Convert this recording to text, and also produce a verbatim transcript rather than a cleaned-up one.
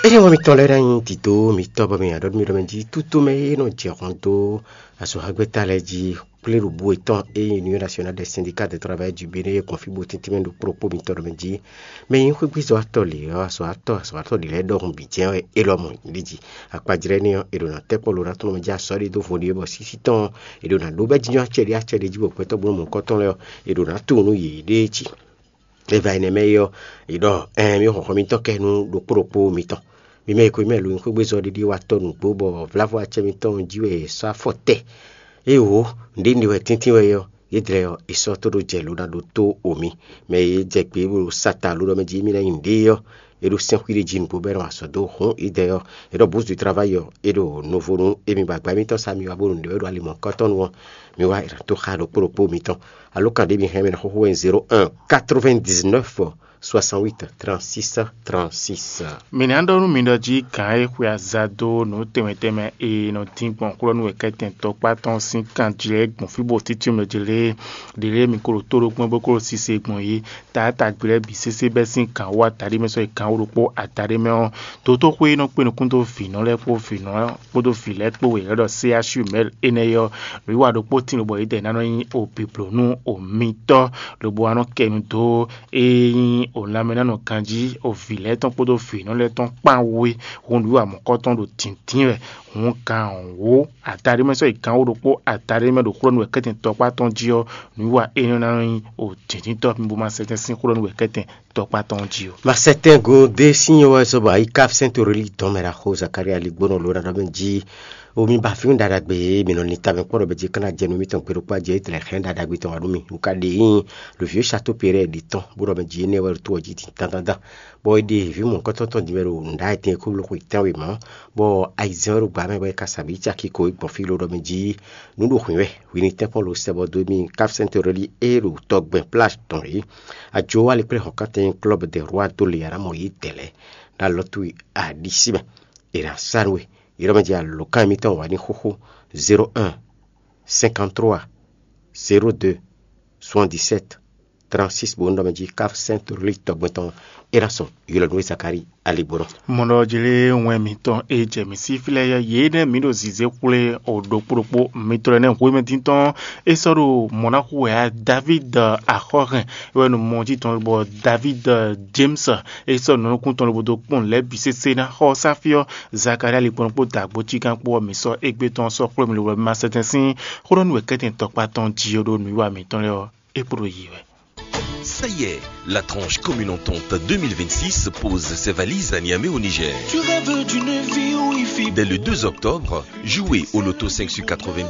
Ényí wɛ mitɔn lɛ́ɛ ná nyí dǐdó mitɔ́ bɔ mi nya ɖɔ nú mì ɖɔ mɛ jí tútú mɛ e nɔ jɛ hɔn dó azɔ̌xagbɛ́ta lɛ́ɛ jí kplé ɖo bú yětɔn e nyí Union Nationale des Syndicats de Travailleurs du Bénin e gbɔn fí bó tɛ́ntin mɛ ɖo kplɔ́kpó mitɔn ɖɔ mɛ jí mɛ nyí xwégbézɔ́watɔ́ lě ɔ́, azɔ̌watɔ́ azɔ̌watɔ́ lě lɛ́ɛ ɖɔhun bǐ jɛ́n wɛ é lɔ mɔ ɖi jí. Akpajlɛ́ énɛ́ ɔ́, è ɖo nǎ tɛ́ kpɔ́ lo ná tɔn mɛ jí azɔ̌ ɖé dó vo ɖi wɛ bɔ sísí tɔn è ɖo nǎ ɖó bɛ́ jínjɔ́n acɛ ɖé acɛ ɖé jí bɔ gbɛtɔ́ gbɔn mɔ̌hunkɔtɔn lɛ́ɛ ɔ́, è ɖo nǎ tunwun nú yě ɖéé jí. Eva énɛ́ mɛ é ɔ́, è ɖɔ ɛɛn mì xɔxɔ mitɔn kɛ nú ɖokpó ɖokpó mitɔn. Mi mɛ e ko mɛ lo nyí xwégbézɔ́ ɖiɖi wa tɔ́ nǔgbó bɔ vlávo acɛ mitɔn jí wɛ è sɔ́ afɔ tɛ. Éeǒ, nǔɖé nɖe wɛ tɛ́ntin wɛ é ɔ́, yědɛɛ ɔ́, è sɔ́ tó ɖó jɛ lo ná ɖó tó o mì. Mɛ e jɛ gbě bó sa ta lo ɖɔ mɛ jí émí ná nyi nǔɖé ɔ́, é ɖó sɛ́n xwíɖé jí nǔgbó bɔ é nɔ wa azɔ̌ dó hǔn yědɛɛ ɔ́, è ɖɔ bǔzu travayi ɔ́, é ɖo novo nú émí bɔ agba émítɔn sá mi wá bónú nǔɖé wɛ ɖo ali mɔ̌hunkɔtɔn nu ɔ́, mi wá è nǎ tó xá ɖokpó ɖokpó mitɔn. Alǒkan ɖě mi hɛn mɛ ná xóxó wɛ nyí zéro un quatre-vingt-dix-neuf soixante-huit trente-six trente-six. Mǐ ná ɖɔ nú mi ɖɔ jí gǎn e xwe aza dó nǔ tɛnmɛ tɛnmɛ e nɔ dín gbɔn xwlɔ́nú wɛ kɛ́tɛn tɔkpá tɔn sín kan jí lɛ́ɛ gbɔn fí bó títí mɛ jí lé ɖě lé mi ko ɖo tó ɖokpó bó ko ɖo sise gbɔn yí taátagbe lɛ́ɛ bǐ sésé bɛ́ sín gǎn wú ataɖé mɛ sɔ́ yi gǎn wú ɖokpó ataɖé mɛ ɔ́, dotóxwé e nɔ kpé nukún dó vǐnɔ lɛ́ɛ kpó vǐnɔ kpódó vǐ lɛ́ɛ kpó wěwé ɖɔ C H U mɛ̌l énɛ́ é ɔ́, nǔwiwa ɖokpó tín lobɔ yědɛɛ ná nɔ nyí obǐbló nú omitɔ́, lobo wá nɔ kɛ nu dó e nyí o lanmɛnánɔ ganjí o vǐ lɛ́ɛ tɔn kpódó vǐnɔ lɛ́ɛ tɔn kpán wú é. Hǔn nǔwiwa mɔ̌kɔ́tɔn ɖo dǐndín wɛ. Hǔn gǎn wǒ ataɖé mɛ sɔ́ yi gǎn wú ɖokpó ataɖé mɛ ɖo xwlɔ́nú wɛ kɛ́tɛn tɔkpá tɔn jí ɔ́, nǔwiwa énɛ́ ná nɔ nyí o dǐndíntɔ́ mi bó ma sɛtɛ́n sín xwlɔ́nú wɛ kɛ́tɛn tɔkpá tɔn jí ɔ́. Masɛtɛn gúndé sín wɛ sɔ́ bɔ ayíká sɛ́ntɔ lí dɔn mɛ ɖaxó Zakária ligbónɔ ló ɖaɖa mɛ jí omi ba fí ɖaɖagbe e mǐ nɔ ní ta mɛ kpɔ́ ɖɔ mɛ jí kana jɛ nú mítɔn gbe ɖokpó ajɛ étlɛ hɛn ɖaɖagbe tɔn wá nú mì. Nǔ ka ɖe nyí lǒví e Sato Pérɛ ɖi tɔn bó ɖɔ mɛ jí énɛ́ wɛ ɖo tó ɔ́ jí din dandandan. Bɔ é ɖe vǐ mɔ̌hunkɔtɔn tɔn din wɛ ɖo nǔɖaɖa tɛn e kó bló xwe tɛ́nwe mɔ̌, bɔ ayizɛ́n wɛ ɖo gbǎ mɛ bɔ é ka sa vǐ caki ko é gbɔn fí ló ɖɔ mɛ jí nǔ ɖo hwǐn wɛ hwi ní tɛ́nkpɔ́n lo sɛ bɔ dó mì káfíntɛ́ntɔ́ lí é ɖo tɔgbɛn plage tɔn é. Ajo wá lé kplé hɔ̌nkántɛn club de roi dó le arámɔ yí dɛ̌ lɛ́ɛ ɖo alɔ towe aɖisí mɛ. È nǎ sa nú we. Ylɔ́ mɛ jɛ alǒkan émítɔn wǎ ní xóxó zéro un cinquante-trois zéro deux soixante-dix-sept trente-six bó nɔ mɛ jí káfíntɛ́ntɔ́ lí tɔgbɛn tɔn é ná sɔn ylɔ́ nú we Zakári aligbónɔ. Mɔɖɔ jlé wɛn mǐtɔn e jɛ mǐ sí fí lɛ́ɛ yɛ yě nɛ́ mǐ ɖo zǐzé xwlé o ɖokpó ɖokpó mitɔn lɛ́ɛ nɛ́ hwemɛ dín tɔn é sɔ́ ɖo mɔ̌ ná xú wɛ á David axɔ́hɛn é wɛ nɔ mɔ jí tɔn bɔ David James é sɔ́ nɔ nukún tɔn lobo dó kpɔ́n lɛ̌ bǐ sésé ná xɔ sáfí ɔ́ Zakaria likpɔ́n kpó dǎgbó cígán kpó ɔ́ mǐ sɔ́ égbé tɔn sɔ́ xwlé mi lobo ma sɛtɛn sín xó ɖɔ nú wɛ kɛ́tɛn tɔkpá tɔn jí ɔ́ ɖó nǔwiwa mǐtɔn lɛ́ɛ ɔ́ é kpo ɖo yi wɛ. Ça y est, la tranche commune entente deux mille vingt-six pose ses valises à Niamey au Niger. Tu rêves d'une vie où il fait Dès le deux octobre, jouez au loto cinq sur quatre-vingt-dix